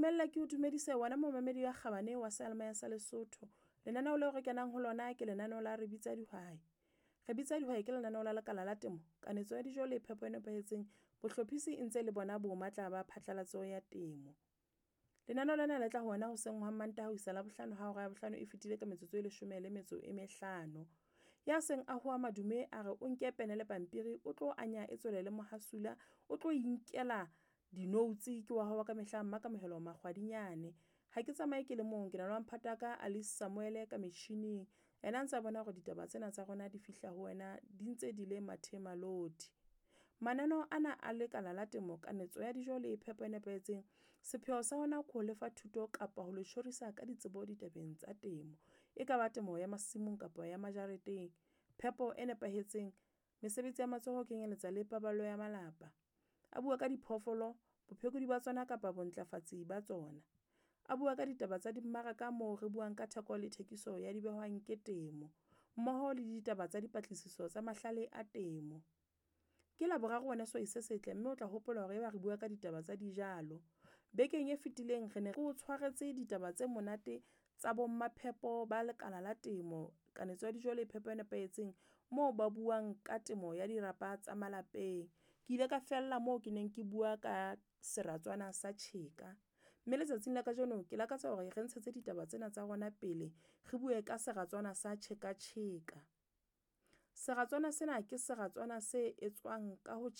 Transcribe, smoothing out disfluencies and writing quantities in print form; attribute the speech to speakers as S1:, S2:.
S1: Dumella ke o dumedise wena momamedi ya kgabane wa seyalemoya sa Lesotho. Lenaneo leo re kenang ho lona ke lenaneo la Re Bitsa Dihwai. Re Bitsa Dihwai ke lenaneo la lekala la temo, kanetso ya dijo le phepo e nepahetseng. Bohlophisi e ntse le bona bo matla ba phatlalatso ya temo. Lenaneo lena le tla ho wena hoseng hwa Mantaha ho isa Labohlano ha hora ya bohlano e fetile ka metsotso e leshome le metso e mehlano. Ya seng a hoa madume a re o nke pene le pampiri o tlo anya e tswele le mohasula, o tlo inkela di-notes ke wa hao wa ka mehla Mmakamohelo Makgwadinyane. Ha ke tsamaye ke le mong, ke na le wa mphata ka Alice Samuel ka metjhining. Ena ntse a bona hore ditaba tsena tsa rona di fihla ho wena di ntse di le mathe maloti. Mananeo ana a lekala la temo, kanetso ya dijo le phepo e nepahetseng. Sepheo sa hona ke ho lefa thuto kapa ho le tjhorisa ka ditsebo ditabeng tsa temo. E ka ba temo ya masimong kapa ya majareteng. Phepo e nepahetseng, mesebetsi ya matsoho ho kenyeletsa le paballo ya malapa. A bua ka diphoofolo, bophekodi ba tsona kapa bontlafatsi ba tsona. A bua ka ditaba tsa dimmaraka moo re buang ka theko le thekiso ya dibehwang ke temo, mmoho le ditaba tsa dipatlisiso tsa mahlale a temo. Ke Laboraro wena sehwai se setle mme o tla hopola hore eba re bua ka ditaba tsa dijalo. Bekeng e fetileng re ne re o tshwaretse ditaba tse monate tsa bo mmaphepo ba lekala la temo, kanetso ya dijo le phepo e nepahetseng moo ba buang ka temo ya dirapa tsa malapeng. Ke ile ka fella moo ke neng ke bua ka seratswana sa tjheka. Mme letsatsing la kajeno ke lakatsa hore re ntshetse ditaba tsena tsa rona pele, re bue ka seratswana sa tjheka tjheka. Seratswana sena ke seratswana se etswang ka ho